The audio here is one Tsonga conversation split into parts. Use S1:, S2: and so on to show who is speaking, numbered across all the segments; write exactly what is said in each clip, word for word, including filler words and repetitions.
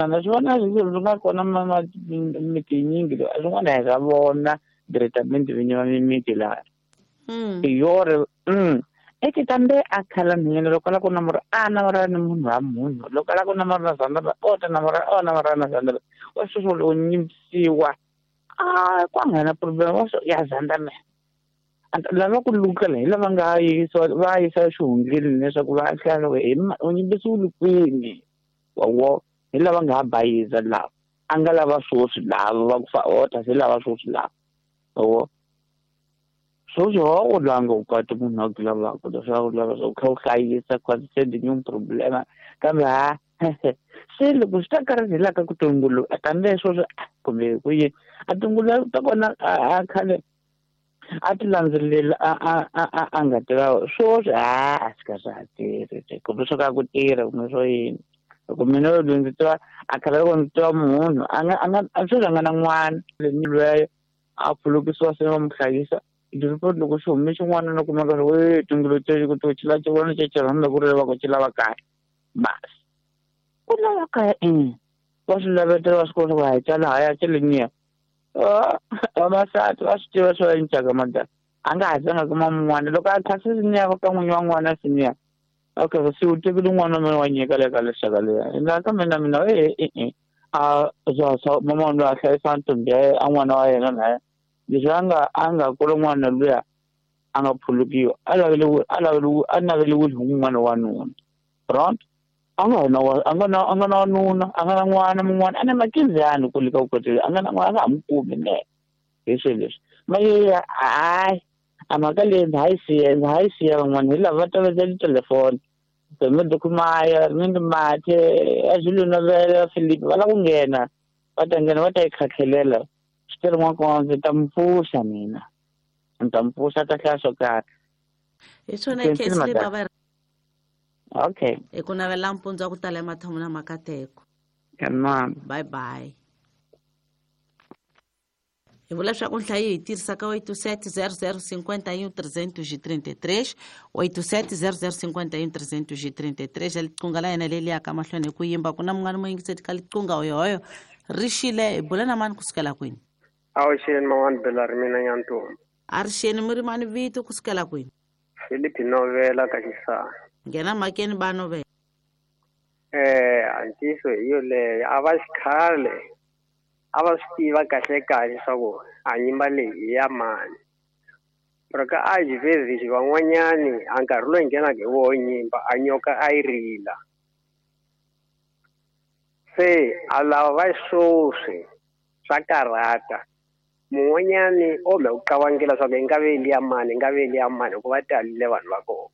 S1: Na swi vona swi nga kona miti yinyingi swin'wana hi swa vona diretamente vinyi va mimiti laha yore mm eke tambe a khala nhwanyana loko a lava ku namura a namura ni munhu wa munhu loko a lava ku namura na zandara o ta namura o namura na zandara wa sweswo loko nyimpisiwa a ku nga na problem wa swo ya zandame lava ku lukela hi lava nga yisiwa va yisa xihundleni leswaku va hlaya loko hi u nyimpisiwile kwini wa wo hi lava nga ha bayiza lava a nga lava swoswi lava va ku fa ota se lava swoswi lava wo swoswi ho u langa u kati munhu a ku lavaka leswaku lava swa ku kha u hlayisa cause se di new problema kambe ha se loko swi ta karhi hi laka ku tungulu kambe swoswi kumbe ku yini a tungulu ta kona a khale a ti landzelela a a a a nga tiva swoswi ha a swi ka swa ha tirhi kumbe swo ka ku tirha kumbe swo yini loko mina loyi ndzi tiva a khale loko ndzi tiva munhu a nga a nga sweswi a nga na n'wana lweyo a phulukisiwa se va mu hlayisa report loko xi hume xin'wana no kumeka ri we tungulu te ku to xi la xi xi rhandza ku ri va ku xi lava kaya basi ku lava kaya i va swi lavetela va swi kota ku hayi tsala haya xi leniya vavasati va swi tiva swo encaka madala a nga ha zanga kuma mun'wana loko a khase siniya ka n'winyi wa n'wana siniya okay se u tekile n'wana wa mina wa nyika le ka lexaka leya na ka mina mina e e e a swa swa mama loyi a hlayisa ntombi ya a n'wana wa yena naye leswi a nga a nga kula n'wana luya a nga phulukiwa a lavele a lavele a naveliwile hi n'wana wa nuna right a nga na a nga na a nga na nuna a nga na n'wana mun'wana a na makinzani ku lika ku kotela a nga na n'wana a nga ha mu kumi ne hi swilo leswi maye hayi a mhaka leyi ndza ha yi siya ndza ha yi siya van'wana hi lava va tolovela titelefoni Dokumaya ni mathe a Zulu Novela Philip va lava ku nghena va ta nghena va ta yi khatlhelela swi tele n'wana ndzi ta mi pfuxa mina ndzi ta mi pfuxa ta hlaya swo karhi
S2: hi swona case leyi bava
S1: okay
S2: hi ku navela mpundzu wa ku tala emathomo na makateko bye bye hi vula leswaku nhlayo hi tirhisaka oito sete zero zero cinquenta e um trezentos e trinta e três oito sete zero zero cinquenta e um trezentos e trinta e três liqunga la yena leli yaka mahlweni hi ku yimba ku na munghana mo yingiseti ka liqunga hoyohoyo ri xile hi bula na mani kusukela kwini
S3: awuxeni man'wani bela ri mina nyantombi
S2: a ri xeni mi ri mani vito kusukela kwini
S3: Philip Novela ka Xisana
S2: nghena mhakeni ba Novela
S3: eh antiso hi yoleyo a va xikhale a va swi tiva kahle kahle swa ku a nyimba leyi hi ya mani pero ka a xivezixi van'wanyani a nkarhi loyi nghenaka hi woho nyimba a nyoka a yi rila se a lava va swoswi swa karhata mun'wanyani o me ku qavangela swa ku yi nga ve liya mani yi nga ve liya mani hikuva talile vanhu va kona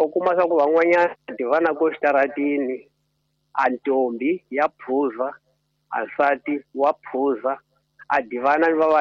S3: u kuma swa ku van'wanyana tivana ko xitaratini a ntombi ya phuza a nsati wa phuza a divana ni vavanuna.